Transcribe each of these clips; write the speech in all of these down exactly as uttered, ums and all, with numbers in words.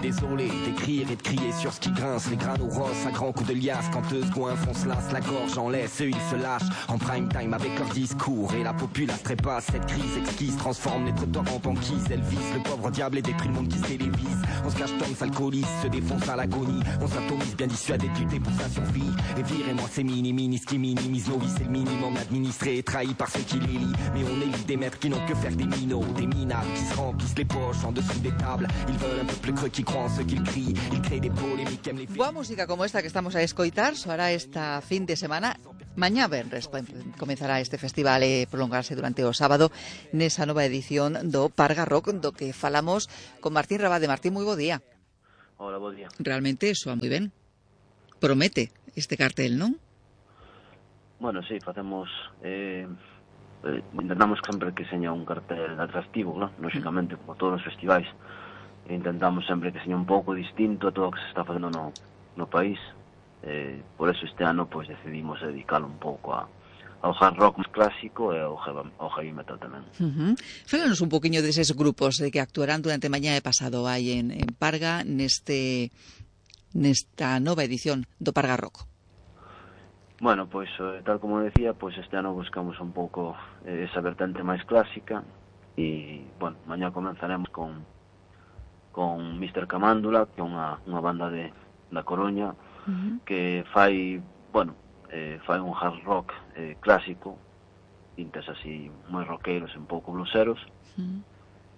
Désolé d'écrire et de crier sur ce qui grince, les granos rosses à grands coups de liasse. Quand eux goinfrent, on se lasse la gorge en laisse. Eux ils se lâchent en prime time avec leur discours. Et la populace trépasse, cette crise exquise transforme les trottoirs en banquise. Elle vise le pauvre diable et détruit le monde qui se télévise. On se cache tombe, s'alcoolise, se défonce à l'agonie. On s'atomise, bien dissuadé de lutter pour sa survie. Et virez-moi ces mini-minis qui minimisent nos vies. C'est le minimum administré et trahi par ceux qui les lient. Mais on élit des maîtres qui n'ont que faire des minots, des minables qui se remplissent les poches en dessous des tables. Ils veulent un peuple creux qui croit en ce qu'ils crient. Ils créent des polémiques, aiment les filles. Boa música como esta que estamos a escoitar soará esta fin de semana. Mañá venres comenzará este festival e prolongarse durante o sábado nesa nova edición do Parga Rock, do que falamos con Martín Rabade. Martín, moi bo día. Hola, bo día. Realmente soa moi ben. Promete este cartel, non? Bueno, sí, facemos eh, eh, intentamos sempre que seña un cartel atractivo, ¿no? Lógicamente, como todos os festivais, intentamos sempre que seña un pouco distinto a todo o que se está facendo no, no país. Eh, por eso este ano pues decidimos dedicarlo un pouco a, ao hard rock máis clásico e ao heavy, ao heavy metal tamén. Uh-huh. Fálanos un poquinho deses grupos de que actuarán durante mañá e pasado aí en, en Parga neste nesta nova edición do Parga Rock. Bueno, pois pues, tal como decía, pois pues este ano buscamos un pouco eh, esa vertente máis clásica e, bueno, mañá comenzaremos con con mister Camándula, que é unha, unha banda de da Coruña, uh-huh, que fai, bueno, eh, fai un hard rock eh, clásico, tintes así moi rockeiros, un pouco bluseros. Uh-huh.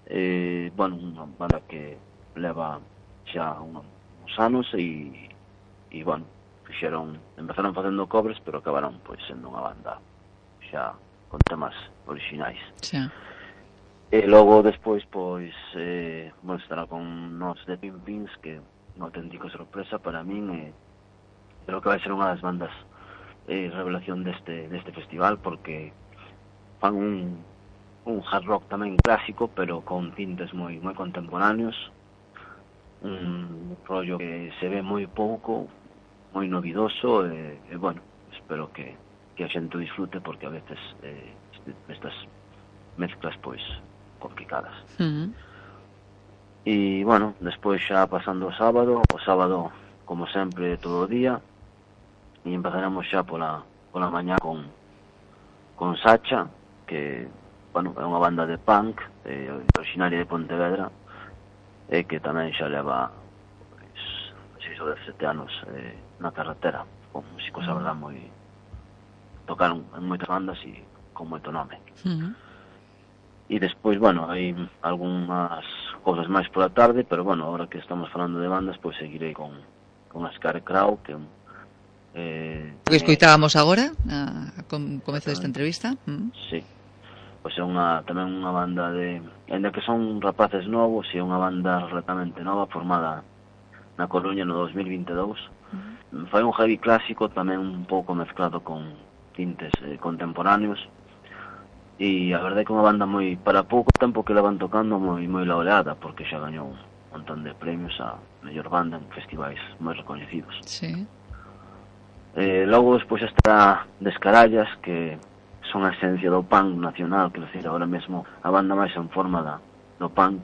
Eh, bueno, unha banda que leva xa uns anos e, e bueno, fixeron, empezaron facendo covers, pero acabaron pois sendo unha banda xa con temas orixinais. Xa. E logo despois, pois, eh, bueno, estará con nos de Pin Pins, que unha auténtica sorpresa para min, e creo que vai ser unha das bandas eh, revelación deste deste festival, porque fan un, un hard rock tamén clásico, pero con tintes moi moi contemporáneos, un rollo que se ve moi pouco, moi novidoso, e, e bueno, espero que, que a xente o disfrute, porque a veces eh, estas mezclas, pois, complicadas. Uh-huh. E, bueno, despois xa pasando o sábado, o sábado, como sempre, todo o día, e empezaremos xa pola, pola mañá con, con Sacha, que, bueno, é unha banda de punk, eh, originaria de Pontevedra, e que tamén xa leva pois, seis ou sete anos eh, na carretera, con músicos, a verdad, moi... tocaron en moitas bandas e con moito nome. Uh-huh. E despois, bueno, hai algunhas cousas máis pola tarde, pero, bueno, agora que estamos falando de bandas, pois seguirei con, con a Scarecrow, que eh, o que escoitábamos agora, a, a comezo desta entrevista. Uh-huh. Sí, pois é unha, tamén unha banda de... Ainda que son rapaces novos, é unha banda relativamente nova, formada na Coruña no dos mil vinte e dous. Uh-huh. Fai un heavy clásico, tamén un pouco mezclado con tintes eh, contemporáneos. E a verdade é que unha banda moi, para pouco tempo que la van tocando, moi moi laureada, porque xa gañou un montón de premios a mellor banda en festivais moi recoñecidos. Sí. Eh, logo despois está Descarallas, que son a esencia do punk nacional, que decir, agora mesmo a banda máis en forma da, do punk.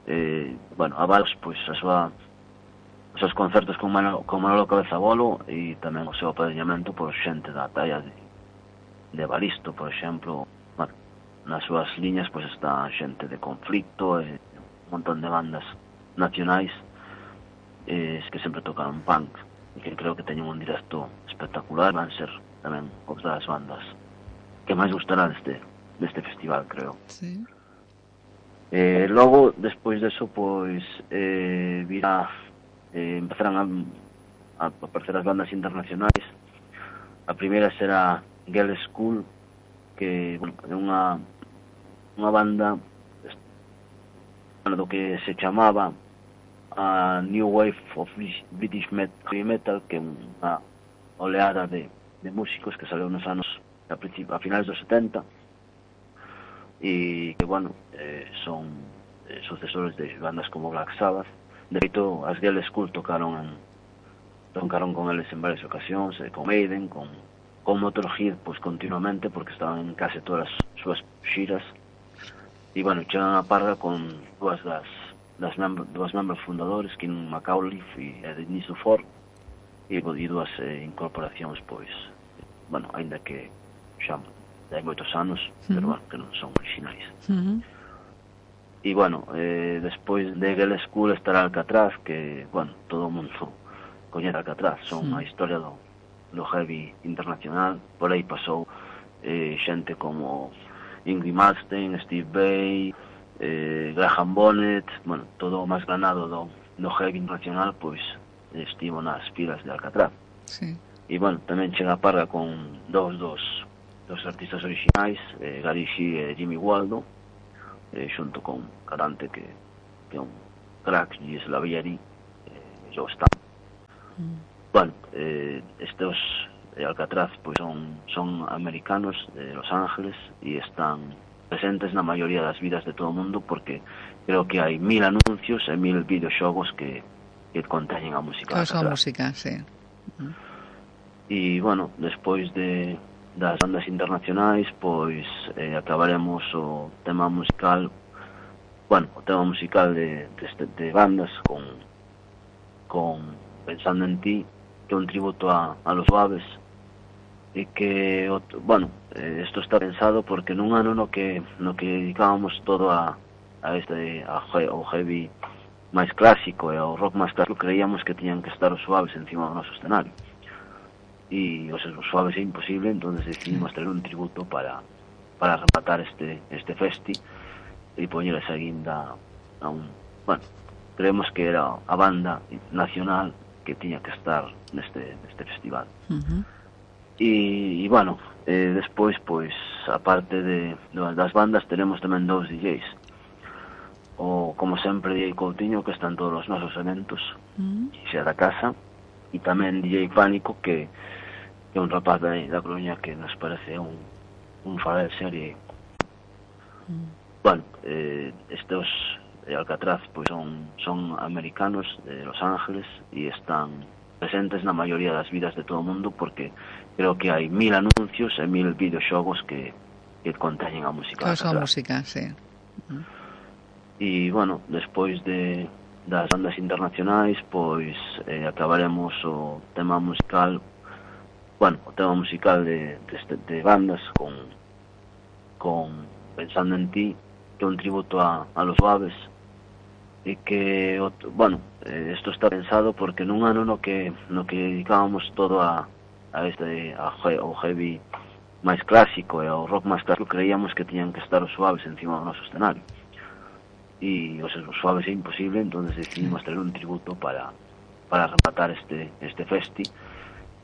Eh, bueno, a Vals, pois a súa os seus concertos con Manolo, con Manolo Cabezabolo, e tamén o seu apadriñamento por xente da talla de, de Balisto, por exemplo. Bueno, nas súas liñas pois está xente de Conflicto e un montón de bandas nacionais eh, que sempre tocaron punk e que creo que teñen un directo espectacular. Van ser tamén outra das bandas que máis gustará deste, deste festival, creo. Sí. Eh, logo, despois deso, pois eh, virá eh, empezarán a, a aparecer as bandas internacionais. A primeira será Girl School, que, bueno, é unha unha banda do que se chamaba a New Wave of British Metal, que é unha oleada de, de músicos que saleu nos anos a, a finais dos setenta, e que, bueno, eh, son eh, sucesores de bandas como Black Sabbath. De feito, as Girl School tocaron en, tocaron con eles en varias ocasións, eh, con Maiden, con con Motorhead, pois continuamente, porque estaban en case todas as súas xiras. E, bueno, chegan a Parga con dúas das das membro, dos membros fundadores, Kim McAuliffe e Denis Dufour, e, e dúas eh, incorporacións, pois, bueno, aínda que xa hai moitos anos, uh-huh. pero, bueno, que non son originais. Uh-huh. E, bueno, eh, despois de Gale School estará Alcatraz, que, bueno, todo o mundo coñece Alcatraz, son uh-huh. a historia do, do heavy internacional. Por aí pasou eh, xente como Yngwie Malmsteen, Steve Vai, eh, Graham Bonnet, bueno, todo o máis granado do, do heavy internacional, pois estivo nas filas de Alcatraz. Sí. E, bueno, tamén chega a parga con dous dos, dos artistas originais, eh, Gary Shee e Jimmy Waldo, eh, xunto con Carante, que, que é un crack, Gilles Lavallary, eh, Joe Stam. Mm. Bueno, eh, estes eh, Alcatraz pois son, son americanos de Los Ángeles e están presentes na maioría das vidas de todo o mundo, porque creo que hai mil anuncios e mil videoxogos que, que conteñen a música. Claro, a música, sí. Uh-huh. E, bueno, despois de das bandas internacionais, pois eh, acabaremos o tema musical, bueno, o tema musical de, de, de bandas con, con Pensando en Ti, que é un tributo a, a Los Suaves, e que, bueno, eh, esto está pensado porque nun ano no que no que dedicábamos todo a, a este a, ao heavy máis clásico e ao rock máis clásico, creíamos que tiñan que estar os Suaves encima do noso escenario, e os, os Suaves é imposible, entonces decidimos traer un tributo para para rematar este este festi e poñer esa guinda a un, bueno, creemos que era a banda nacional que tiña que estar neste neste festival. Uh-huh. E, e, bueno, eh, despois, pois, aparte de, de das bandas, tenemos tamén dous D Js. O, como sempre, D J Coutinho, que está en todos os nosos eventos, mm. xa da casa, e tamén D J Pánico, que, que é un rapaz da, da Coruña que nos parece un, un fara de serie. Mm. Bueno, eh, estes eh, Alcatraz, pois, son, son americanos de Los Ángeles e están presentes na maioría das vidas de todo o mundo, porque creo que hai mil anuncios e mil videoxogos que, que conteñen a música. Claro, a música, sí. Uh-huh. E, bueno, despois de das bandas internacionais, pois eh, acabaremos o tema musical, bueno, o tema musical de, de, de bandas con, con Pensando en Ti, que é un tributo a, a Los Suaves, e que, bueno, eh, esto está pensado porque nun ano no que no que dedicábamos todo a a este a, ao heavy máis clásico e ao rock máis clásico, creíamos que tiñan que estar os Suaves encima do noso escenario, e os, os Suaves é imposible, entonces decidimos traer un tributo para para rematar este este festi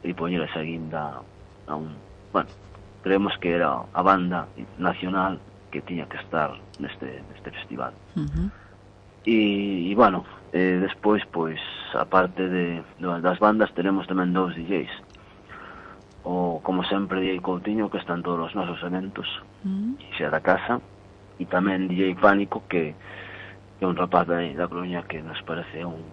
e poñer esa guinda a un, bueno, creemos que era a banda nacional que tiña que estar neste neste festival. Uh-huh. E, e, bueno, eh, despois, pois, aparte de, de das bandas, tenemos tamén dous D Js. O, como sempre, D J Coutinho, que está en todos os nosos eventos, mm. xa da casa, e tamén D J Pánico, que, que é un rapaz da, da Coruña que nos parece un,